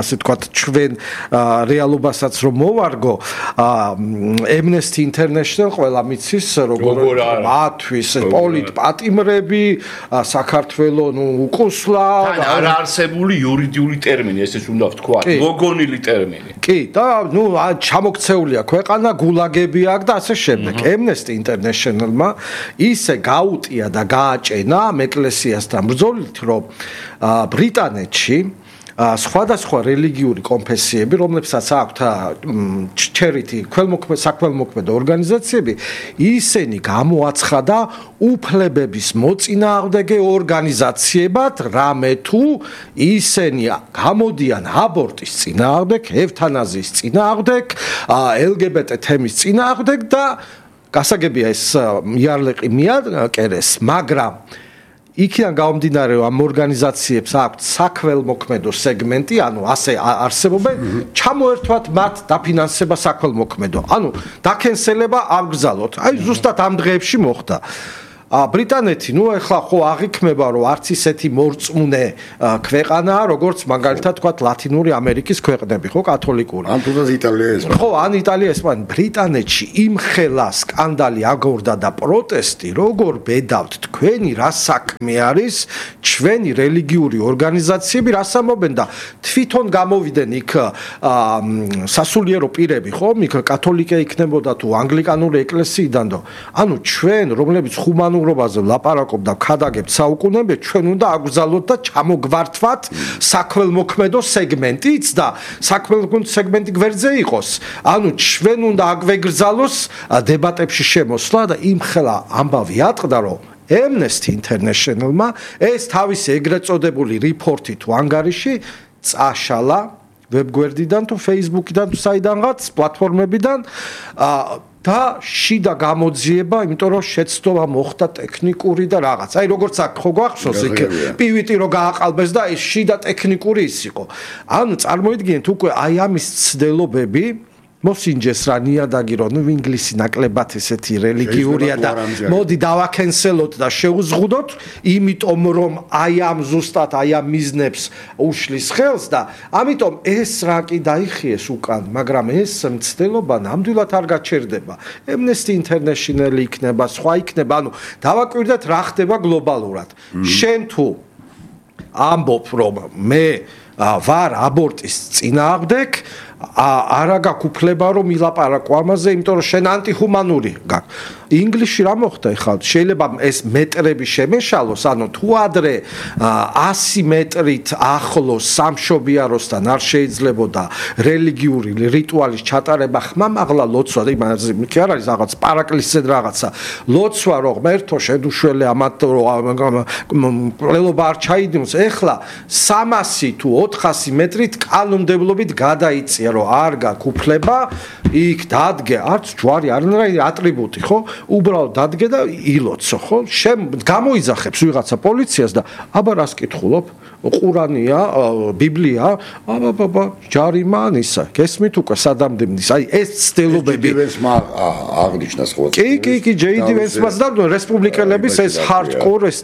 ასე ვთქვათ, ჩვენ რეალობასაც რომ მოვარგო, Amnesty International ყველა მიცის როგორ მათვის პოლიტ პატიმრები მეგობრები, საქართველო, უკუსლა. არ არსებული იურიდიული ტერმინი, ესეც უნდა ვთქვა, მოგონილი ტერმინი. კი, და ჩამოქცეულია ქვეყანა, გულაგები აქვს და ასე შემდეგ. Amnesty International-მა ისე გაუტია და გააჭენა ამ ეკლესიასთან ბრძოლით, რომ ბრიტანეთში სხვადასხვა რელიგიური კონფესიები, რომლებსაც აქვთ charity, საქველმოქმედო ორგანიზაციები, ისინი გამოაცხადა უფლებების მოწინააღმდეგე ორგანიზაციებად, რამე თუ ისინი გამოდიან აბორტის წინააღმდეგ, ევთანაზიის წინააღმდეგ, LGBT თემის წინააღმდეგ და გასაგებია ეს იარლეყი მიაკერეს, მაგრამ იქიდან გამომდინარე ამ ორგანიზაციებს აქვთ საქველმოქმედო სეგმენტი, ანუ ასე არსებობენ, ჩამოერთვათ მათ დაფინანსება საქველმოქმედო. ანუ დაკენსელება აბგზალოთ. აი ზუსტად ამ დღეებში მოხდა. ბრიტანეთი, ეხლა ხო აღიქმება, რომ არც ისეთი მორწმუნე ქვეყანაა, როგორც მაგალითად თქვათ ლათინური ამერიკის ქვეყნები, ხო, კათოლიკური. ან თუნდაც იტალია ეს. ხო, ან იტალია ეს, მაგრამ ბრიტანეთში იმხელა სკანდალი აგორდა და პროტესტი, როგორ ბედავთ თქვენი რა საქმე არის, ჩვენი რელიგიური ორგანიზაციები რას ამობენ და თვითონ გამოვიდნენ იქ სასულიერო პირები, ხო, იქ კათოლიკე იქნებოდა თუ ანგლიკანური ეკლესიიდან და ანუ ჩვენ, რომლებიც ხუმანურობაზე ლაპარაკობ და ქადაგებთ საუკუნეებს, ჩვენ უნდა აგზალოთ და ჩამოგვართვათ საქველმოქმედო სეგმენტიც და საქველმოქმედო სეგმენტი გვერდზე იყოს. ანუ ჩვენ უნდა აგვეგზალოს დებატებში შემოსვლა და იმხელა ამბავი ატყდა, რომ Amnesty International-მა ეს თავისი ეგრეთ წოდებული რიპორტი თუ ანგარიში წაშალა ვებგვერდიდან თუ Facebook-დან თუ საიდანღაც პლატფორმებიდან და შიდა გამოძიება, იმიტომ რომ შეცდომა მოხდა ტექნიკური და რაღაც. აი როგორც აქ ხო გვახსოვს იქ პივიტი რო გააყალბეს და ეს შიდა ტექნიკური ის იყო. ანუ წარმოიდგინეთ უკვე აი ამის ცდელობები მოსინჯეს რა ნიადაგი რომ ინგლისი ნაკლებად ესეთი რელიგიურია და მოდი დავაკენსელოთ და შევუზღუდოთ, იმიტომ რომ აი ამ ზუსტად აი ამ მიზნებს უშლის ხელს და ამიტომ ეს რა კი დაიხიეს უკან, მაგრამ ეს მცდელობა ნამდვილად არ გაჩერდება. Amnesty International იქნება, სხვა იქნება, ანუ დავაკვირდეთ რა ხდება გლობალურად. შენ თუ ამბობ რომ მე ვარ აბორტის წინააღმდეგ, არა გაქვს უფლება რომ ილაპარაკო ამაზე, იმიტომ რომ შენ ანტიხუმანური გაქვს. ინგლისში რა მოხდა ეხლა? შეიძლება ეს მეტრები შემეშალოს, ანუ თუ ადრე 100 მეტრით ახლოს სამშობიაროსთან არ შეიძლებოდა რელიგიური რიტუალის ჩატარება, ხმამაღლა ლოცვა, იმაზე კი არ არის რაღაც პარაკლისზე რაღაცა. ლოცვა რო ღმერთო შედუშველე ამათ ყლელობა არ ჩაიდიმოს. ეხლა 300 თუ 400 მეტრით კანონმდებლობით გადაიწია, რომ არ გაქვს უფლება იქ დადგე არც ჯვარი, არანაირი ატრიბუტი, ხო? უბრალოდ დადგე და ილოცო, ხო? გამოიძახებს ვიღაცა პოლიციას და აბა რას კითხულობ? ყურანია, ბიბლია, აბა ჯარიმანისა. გესმით უკვე სადამდემდის. აი ეს ცდელობები აღნიშნას ხო? კი, ჯეიდი ვენსმას და რესპუბლიკელების ეს ჰარდკორ ეს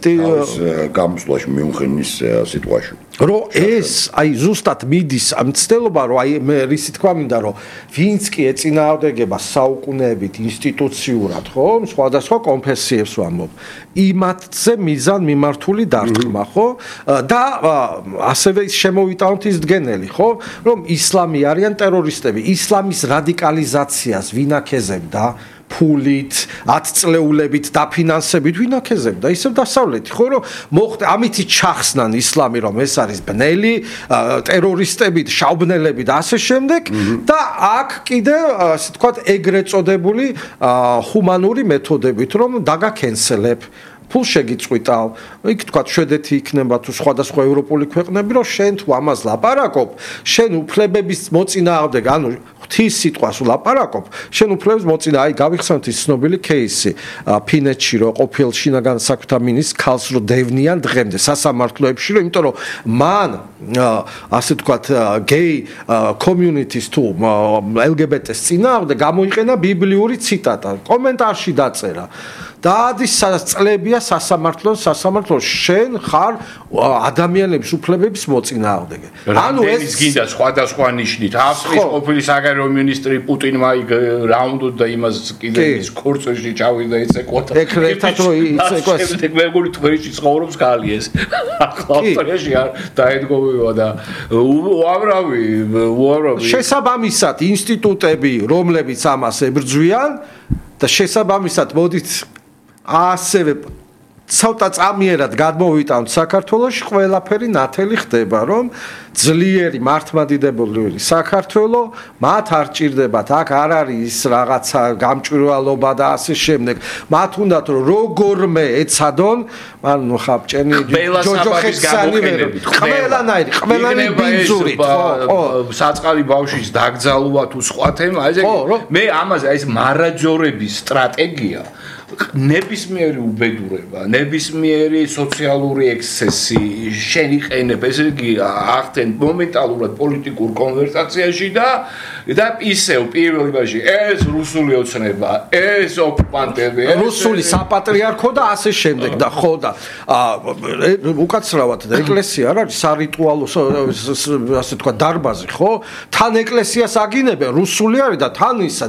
გამოსვლაში მიუხედნის სიტუაციაში. რომ ეს აი ზუსტად მიდის ამ ცდელობა, რომ აი მე რისი თქვა მინდა, რომ ვინც კი ეწინააღმდეგება საუკუნეებით ინსტიტუციურად, ხო, სხვადასხვა კონფესიებს ვამბობ, იმათზე მიზან მიმართული დარტყმა, ხო? და ასევე შემოვიტანოთ ის დგენელი, ხო, რომ ისლამი არიან ტერორისტები, ისლამის რადიკალიზაციას ვინაქეზებდა ფულით, 10 წლეულებით დაფინანსებით ვინაქეზებდა ისევ დასავლეთი, ხო, რომ მოხდა ამითი ჩახსნან ისლამი, რომ ეს არის ბნელი, ტერორისტები, შაუბნელები და ასე შემდეგ და აქ კიდე ასე თქვათ ეგრეთ წოდებული ჰუმანური მეთოდებით, რომ დაგაკენსელებ ფულ შეგიწყვიტავ, იქ თქვა შვედეთი იქნება თუ სხვადასხვა ევროპული ქვეყნები, რომ შენ თუ ამას ლაპარაკობ, შენ უფლებების მოწინააღმდეგ, ანუ ღვთის სიტყვას ლაპარაკობ, შენ უფლებების მოწინააღმდეგ, აი გავიხსენოთ ის ცნობილი кейსი, ფინეთში რო ყოფილ შინაგან საქმეთა მინისტრს ქალს რო დევნიან დღემდე სასამართლოებში, რომ იმიტომ რომ მან ასე თქვათ გეი კომიუნიტის თუ LGBT-ს წინააღმდეგ გამოიყენა ბიბლიური ციტატა, კომენტარში დაწერა. დაადის წლებია სასამართლო შენ ხარ ადამიანების უფლებების მოწინააღმდეგე. ანუ ეს გინდა სხვადასხვა ნიშნით ავსტრიის ყოფილი საგარეო მინისტრი პუტინმა რა უნდა იმას კიდე ის კურსში ჩავიდა იცეკვოდა. ეკრეთად რომ იცეკვას. მეგორი თბილისში ცხოვრობს გალიეს. ახლა ავსტრიაში დაედგოვება და უამრავი შესაბამისად ინსტიტუტები რომლებიც ამას ებრძვიან და შესაბამისად მოდით ასევე ცოტა წამიერად გადმოვიტანთ საქართველოში ყველაფერი ნათელი ხდება რომ ძლიერი მართლმადიდებელი საქართველო მათ არ ჭირდებათ აქ არ არის ის რაღაცა გამჭვირვალობა და ასე შემდეგ მათ უნდათ რომ როგორმე ეცადონ ანუ ხაბჭენი ჯოჯოხეთსანი ყველანაირი ბინძური საწყალი ბავშვის დაკრძალვა თუ სხვა თემა ესე მე ამაზე ეს მარაჯორების სტრატეგია ნებისმიერი უბედურება, ნებისმიერი სოციალური ექსცესი შენიყენებ, ესე იგი ახდენ მომენტალურად პოლიტიკურ კონვერსაციაში და ისევ პირველ რიგში ეს რუსული ოცნება, ეს ოკუპანტები, რუსული საპატრიარქო და ასე შემდეგ და ხო და უკაცრავად ეკლესია არ არის სარიტუალო ასე თქვა დარბაზი, ხო? თან ეკლესიას აგინებენ, რუსული არის და თან ისა,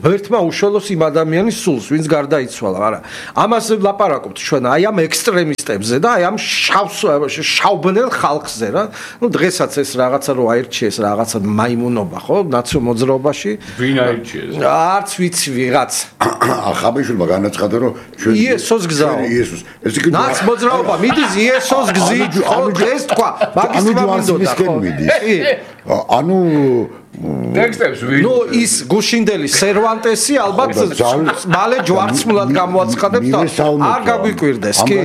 ერთმა უშველოს იმ ადამიანის სულს, ვინც გარდაიცვალა, არა. ამას ლაპარაკობთ ჩვენ აი ამ ექსტრემისტებზე და აი ამ შავბნელ ხალხზე რა. დღესაც ეს რაღაცა რო აირჩიეს რაღაცა მაიმუნობა, ხო? ნაციო მოძრაობაში. ვინ აირჩიეს? არც ვიცი ვიღაც. ახაბიშვილმა განაცხადა რომ ჩვენ იესოს გზაო. იესოს. ნაც მოძრაობა მიდის იესოს გზით, ხო? ეს თქვა, მაგის თვამინდოდა, ხო? ანუ ტექსტებს ვინ ის გუშინდელი სერვანტესი ალბათ მალე ჯვარცმულად გამოაცხადებს და არ გაგვიკვირდეს კი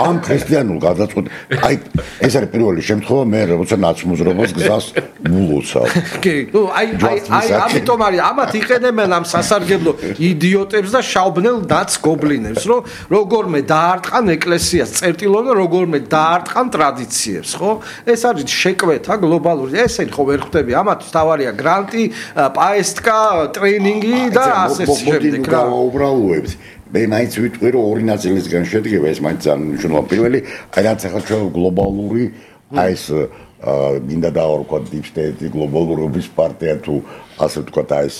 ამ ქრისტიანულ გადაწყვეტ აი ეს არის პირველი შემთხვევა მე როცა ნაცმოძრაობას გზას მულოცავ კი აი ამიტომ არის ამათ იყენებენ ამ სასარგებლო იდიოტებს და შავბნელ დაც გობლინებს რომ როგორმე დაარტყან ეკლესიას წერტილო და როგორმე დაარტყან ტრადიციებს ხო ეს არის შეკვეთა გლობალური ესენი ხო ვერ ხვდები ამათ ავარია გრანტი, პაესტკა, ტრეინინგი და ასე შემდეგ რა. უბრალოებს. მე მაინც ვიტყვი რომ ორი ნაწილისგან შედგება ეს მაინც ძალიან მნიშვნელოვანი. პირველი, აი რაც ახლა ჩვენ გლობალური აი ეს მინდა დავარქვა deep state გლობალურობის პარტია თუ ასე ვთქვათ აი ეს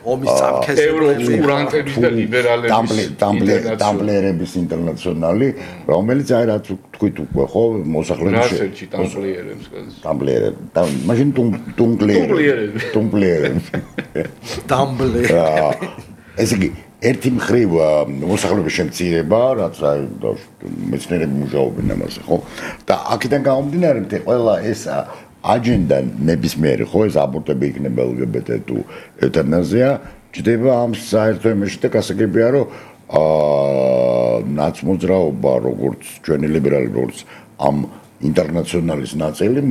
ომის წამქეს ევროკურანტების და ლიბერალების დამპლიერების ინტერნაციონალი რომელიც აი რაც თქვით უკვე ხო მოსახლეობის დამპლიერები მაშინ დამპლიერები ესე იგი ერთი მხრივ მოსახლეობის შემცირება, რაც აი მეცნიერები მუშაობენ ამაზე, ხო? და აქედან გამომდინარე, მე ყველა ეს აჯენდა ნებისმიერი, ხო, ეს აბორტები იქნება LGBT თუ ევთანაზია, ჯდება ამ საერთო იმაში და გასაგებია, რომ ნაცმოძრაობა, როგორც ჩვენი ლიბერალი, როგორც ამ ინტერნაციონალის ნაწილი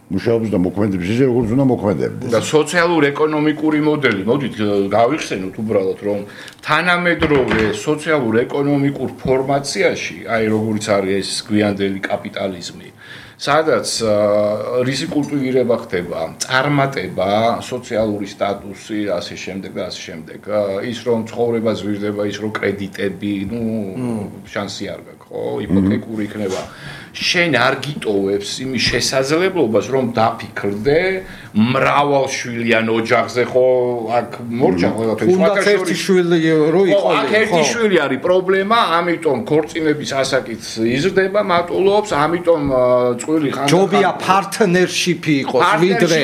მუშაობს და მოქმედებს ისე როგორც უნდა მოქმედებდეს. და სოციალურ-ეკონომიკური მოდელი, მოდით გავიხსენოთ უბრალოდ რომ თანამედროვე სოციალურ-ეკონომიკურ ფორმაციაში, აი როგორც არის ეს გვიანდელი კაპიტალიზმი, სადაც რისი კულტივირება ხდება, წარმატება, სოციალური სტატუსი, ასე შემდეგ და ასე შემდეგ. ის რომ ცხოვრება ზვირდება, ის რომ კრედიტები, შანსი არ გაქვს, ხო, იპოთეკური იქნება. შენ არ გიტოვებს იმის შესაძლებლობას, რომ დაფიქრდე მრავალშვილიან ოჯახზე, ხო, აქ მორჩა ყველაფერი. თუნდაც ერთი შვილი რო იყო, აქ ერთი შვილი არის პრობლემა, ამიტომ ქორწინების ასაკიც იზრდება, მატულობს, ამიტომ წვილი ხან ჯობია პარტნერშიპი იყოს, ვიდრე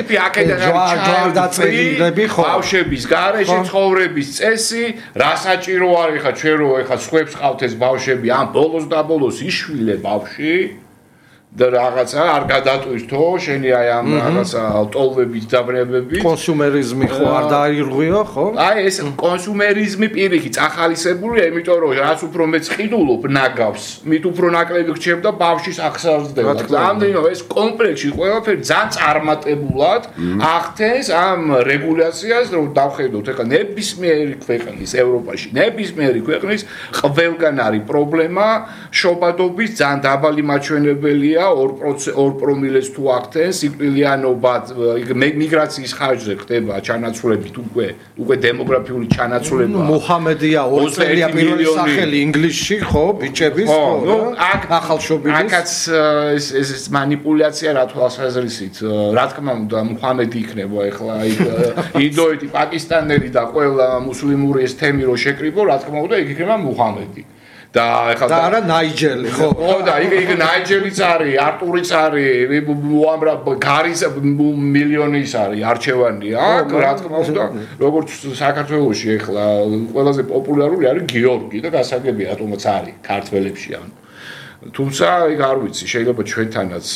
ჯვარდაწევრები, ხო. ბავშვების გარეშე ცხოვრების წესი, რა საჭირო არის ხა ჩვენ რო ეხა სხვებს ყავთ ეს ბავშვები, ამ ბოლოს და ბოლოს იშვილე ბავშვი და რაღაცა არ გადატვირთო შენი აი ამ რაღაცა ტოლვების დაბრებები კონსუმერიზმი ხო არ დაირღვიო ხო აი ეს კონსუმერიზმი პირიქით ახალისებულია იმიტომ რომ რაც უფრო მეც ყიდულობ ნაგავს მით უფრო ნაკლები რჩევდა ბავშვის ახსავსდება ამდენო ეს კომპლექსი ყველაფერი ძალიან წარმატებულად ახდენს ამ რეგულაციას რომ დავხედოთ ეხლა ნებისმიერი ქვეყნის ევროპაში ნებისმიერი ქვეყნის ყველგან არის პრობლემა შობადობის ძალიან დაბალი მაჩვენებელია 2 პრომილეს თუ აქცენტს სიკვდილიანობა მიგრაციის ხარჯზე ხდება ჩანაცვლებით უკვე დემოგრაფიული ჩანაცვლება მუჰამედია 2 წელია პირველი სახელი ინგლისში ხო ბიჭების ხო ახალშობილის აკაც ეს манипуляция რა თვალსაზრისით რა თქმა უნდა მუჰამედი იქნება ეხლა ინდოეთი პაკისტანელი და ყველა მუსლიმური ეს თემი რო შეკრიბო რა თქმა უნდა იქ იქნება მუჰამედი და ეხლა და არა ნაიჯელი ხო ხო და იქ ნაიჯელიც არის არტურიც არის უამრავ გარის მილიონის არის არჩევანია აქ რა თქმა უნდა როგორც საქართველოში ეხლა ყველაზე პოპულარული არის გიორგი და გასაგებია რატომაც არის ქართველებში ანუ თუმცა იქ არ ვიცი შეიძლება ჩვენთანაც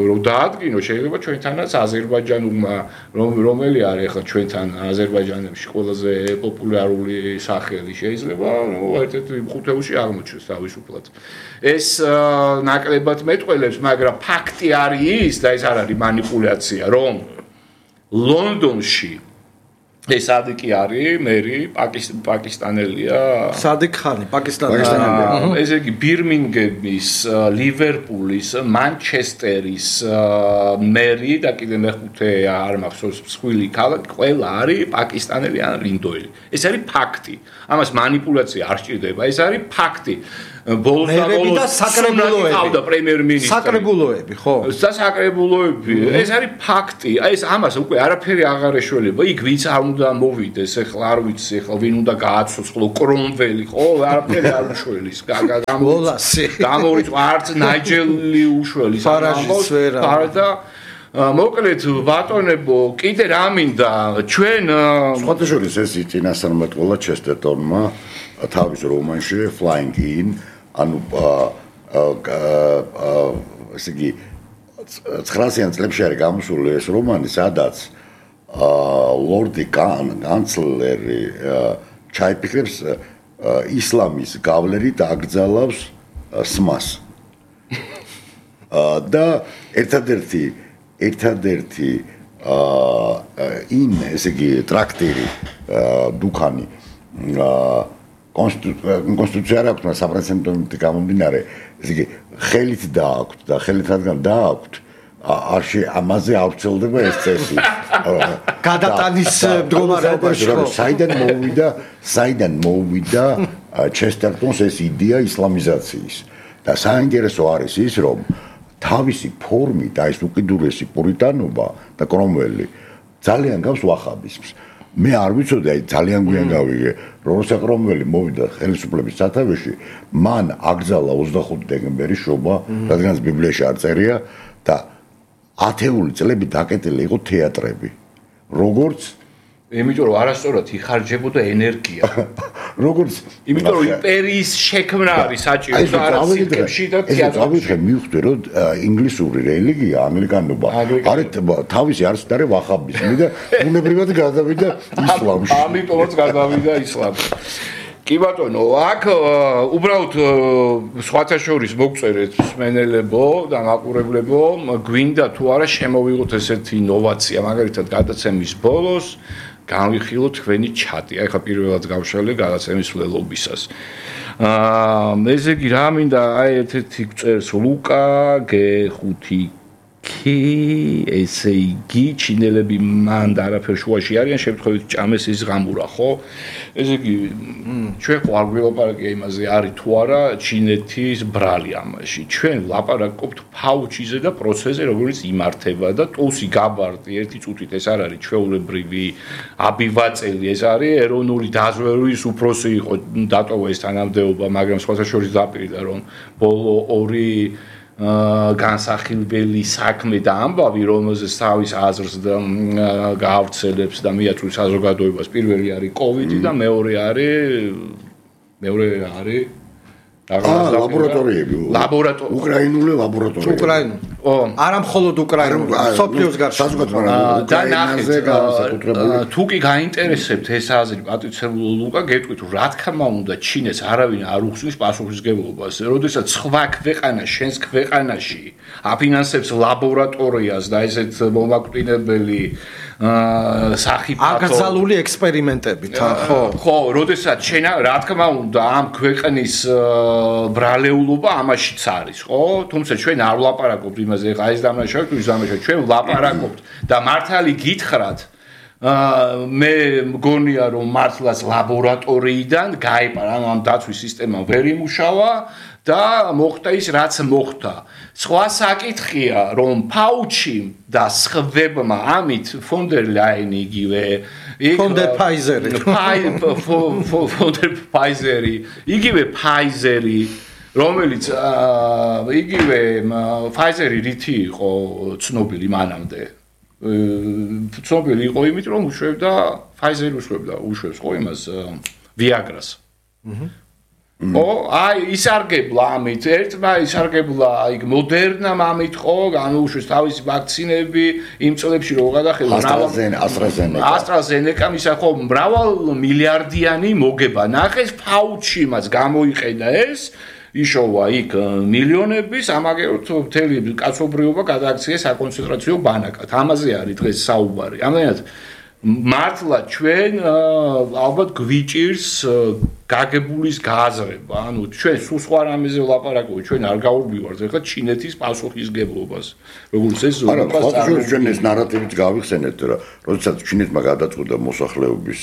რომ დაადგინო შეიძლება ჩვენთანაც აზერბაიჯანულმა რომელი არის ახლა ჩვენთან აზერბაიჯანებში ყველაზე პოპულარული სახელი შეიძლება ერთ-ერთ ხუთეულში აღმოჩნდეს თავისუფლად ეს ნაკლებად მეტყველებს მაგრამ ფაქტი არის ის და ეს არ არის манипуляция რომ ლონდონში ეს ადიკი არის მერი პაკისტანელია სადიკ ხანი პაკისტანელია ესე იგი ბირმინგემის ლივერპულის მანჩესტერის მერი და კიდე მეხუთე არ მახსოვს მსხვილი ქალაქი ყველა არის პაკისტანელი ან ინდოელი ეს არის ფაქტი ამას манипуляция არ სჭირდება ეს არის ფაქტი ბოლოს და ბოლოს საკრებულოები პრემიერ-მინისტრი საკრებულოები ხო და საკრებულოები ეს არის ფაქტი აი ეს ამას უკვე არაფერი აღარ ეშველება იქ ვინც არ უნდა მოვიდეს ეხლა არ ვიცი ეხლა ვინ უნდა გააცოცხლო კრომველი ხო არაფერი არ უშველის გამორიწყო არც ნაიჯელი უშველის ფარაჟის ვერა და მოკლედ ბატონებო კიდე რა მინდა ჩვენ სხვათა შორის ეს წინასწარმეტყველად ჩესტერტონმა თავის რომანში Flying In ანუ ესე იგი 900-იან წლებში არის გამოსული ეს რომანი სადაც ლორდი კანცლერი ჩაიფიქრებს ისლამის გავლენით აკრძალავს სმას და ერთადერთი ესე იგი ტრაქტირი დუქანი კონსტიტუცია არ აქვს მაგრამ საპრეზიდენტო გამომდინარე ესე იგი ხელით დააქვთ და ხელით რადგან დააქვთ ამაზე ავრცელდება ეს წესი გადატანის მდგომარეობაში ხო საიდან მოვიდა ჩესტერტონს ეს იდეა ისლამიზაციის და საინტერესო არის ის რომ თავისი ფორმით აი ეს უკიდურესი პურიტანობა და კრომველი ძალიან გავს ვახაბიზმს მე არ ვიცოდი აი ძალიან გვიან გავიგე როცა კრომველი მოვიდა ხელისუფლების სათავეში მან აკრძალა 25 დეკემბერის შობა რადგანაც ბიბლიაში არ წერია და ათეული წლები დაკეტილი იყო თეატრები როგორც იმიტომ რომ არასწორად იხარჯებოდა ენერგია როგორც იმიტომ რომ იმპერიის შექმნა არის საჭირო და არა სიტყვებში და თეატრში დავიწყე მივხვდი რომ ინგლისური რელიგია ამერიკანობა არის თავისი არის და ვახაბიზმი და უნებრივად გადავიდა ისლამში ამიტომაც გადავიდა ისლამში კი ბატონო აქ უბრალოდ სხვათა შორის მოგწერეთ მსმენელებო და მაყურებლებო გვინდა თუ არა შემოვიღოთ ესეთი ინოვაცია მაგალითად გადაცემის ბოლოს განვიხილოთ თქვენი ჩატი აი ხა პირველად გავშალე გადაცემის ვლელობისას ესე იგი რა მინდა აი ერთ-ერთი წერს ლუკა G5 ესე იგი ჩინელები მან და არაფერ შუაში არიან შემთხვევით ჭამეს ის ღამურა ხო ესე იგი ჩვენ ხო არ ვილაპარაკია იმაზე არის თუ არა ჩინეთის ბრალი ამაში ჩვენ ლაპარაკობთ ფაუჩიზე და პროცესზე როგორც იმართება და ტუსი გაბარტი ერთი წუთით ეს არ არის ჩვეულებრივი აბივაწელი ეს არის ეროვნული დაზვერვის უფროსი იყო დატოვა ეს თანამდებობა მაგრამ სხვათა შორის დაპირდა რომ ბოლო ორი განსახილველი საქმე და ამბავი რომელზეც თავის აზრს და გაავრცელებს და მიაწვდის საზოგადოებას პირველი არის კოვიდი და მეორე არის ლაბორატორიები უკრაინული ლაბორატორიები არა მხოლოდ უკრაინული, სოფლიოს გარშემო. და ნახეთ, თუ კი გაინტერესებთ ეს აზრი, პატრიცებული ლუკა, გეტყვით, რა თქმა უნდა, ჩინეთს არავინ არ უხსნის პასუხისმგებლობას. როდესაც სხვა ქვეყანა შენს ქვეყანაში აფინანსებს ლაბორატორიას და ესეთ მომაკვდინებელი სახიფათო აკრძალული ექსპერიმენტებით, ხო? ხო, როდესაც შენ რა თქმა უნდა ამ ქვეყნის ბრალეულობა ამაშიც არის, ხო? თუმცა ჩვენ არ ვლაპარაკობთ იმაზე, ეხა ეს დამნაშავე თუ ის დამნაშავე, ჩვენ ვლაპარაკობთ და მართალი გითხრათ მე მგონია რომ მართლაც ლაბორატორიიდან გაიპარა ამ დაცვის სისტემა ვერ იმუშავა და მოხდა ის რაც მოხდა. სხვა საკითხია რომ ფაუჩი და სხვებმა ამით ფონ დერ ლაინი იგივე ფონ დერ ფაიზერი ფონ დერ ფაიზერი იგივე ფაიზერი რომელიც იგივე ფაიზერი რითი იყო ცნობილი მანამდე ცნობილი იყო იმით რომ უშვებდა ფაიზერი უშვებს ხო იმას ვიაგრას აი ისარგებლა ამით ერთმა ისარგებლა აი მოდერნამ ამით ხო განუუშვეს თავისი ვაქცინები იმ წლებში რო გადახელა AstraZeneca ისა ხო მრავალ მილიარდიანი მოგება ნახეს ფაუჩიმაც გამოიყედა ეს იშოვა იქ მილიონების ამაგეროთ მთელი კაცობრიობა გადააქცია საკონცენტრაციო ბანაკად ამაზე არის დღეს საუბარი ამენად მართლა ჩვენ ალბათ გვიჭირს გაგებულის გააზრება ანუ ჩვენ სულ სხვა რამეზე ვლაპარაკობთ ჩვენ არ გავურბივართ ეხლა ჩინეთის პასუხისმგებლობას როგორც ეს ჩვენ ეს ნარატივით გავიხსენეთ რა როდესაც ჩინეთმა გადაწყვიტა მოსახლეობის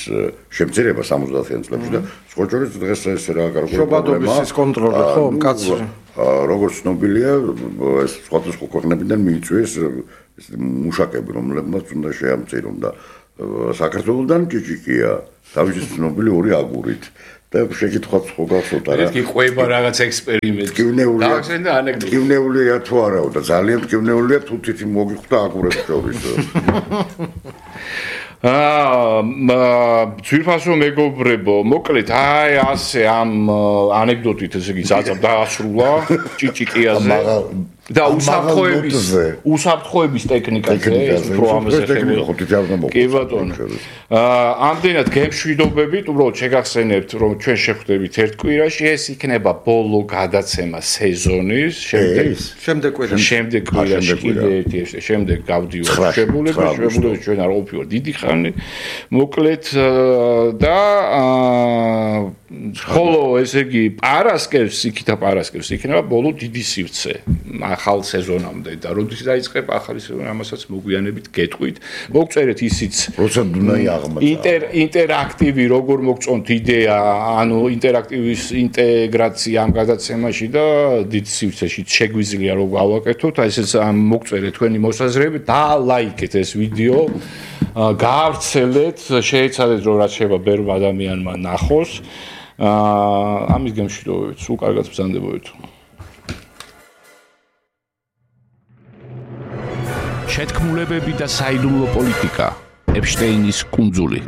შემცირება 70-იან წლებში და სკოჭორის დღეს ეს რა კარგი შობადობის კონტროლი ხო კაცი როგორც ცნობილია ეს სხვადასხვა ქვეყნებიდან მიიწვიეს მუშაკები რომლებმაც უნდა შეამცირონ და საქართველოსთან ჭიჭიკია თავისი ცნობილი ორი აგურით და შეკითხვაც ხო გახსოვთ რა ერთი ყვება რაღაც ექსპერიმენტი გავახსენდა ანეკდოტა ტკივნეულია თუ არაო და ძალიან ტკივნეულია თუ თითი მოგიხვდა აგურებს შორის ძვირფასო მეგობრებო, მოკლედ აი ასე ამ ანეკდოტით ესე იგი ზაძაბ დაასრულა ჭიჭიკიაზე და უსაფრთხოების ტექნიკაზე ეს უფრო ამაზე ხდება. კი ბატონო. ამდენად გემშვიდობებით, უბრალოდ შეგახსენებთ რომ ჩვენ შევხვდებით ერთ კვირაში, ეს იქნება ბოლო გადაცემა სეზონის, შემდეგ კვირაში კიდე ერთი შემდეგ გავდივართ შეებულებას ჩვენ არ ყოფილვართ დიდი ხანი. მოკლედ და ხოლო ესე იგი პარასკევს იქითა პარასკევს იქნება ბოლო დიდი სივრცე ახალ სეზონამდე და როდის დაიწყებ ახალი სეზონი ამასაც მოგვიანებით გეტყვით მოგწერეთ ისიც როცა დუნაი აღმოჩნდა ინტერაქტივი როგორ მოგწონთ იდეა ანუ ინტერაქტივის ინტეგრაცია ამ გადაცემაში და დიდ სივრცეში შეგვიძლია რომ გავაკეთოთ აი ესეც მოგწერეთ თქვენი მოსაზრებები და ლაიქეთ ეს ვიდეო გაავრცელეთ შეეცადეთ რომ რაც შეიძლება ბევრ ადამიანმა ნახოს ამის გემშვიდობებით სულ კარგად ბრძანდებოდეთ შეთქმულებები და საიდუმლო პოლიტიკა ეპშტეინის კუნძული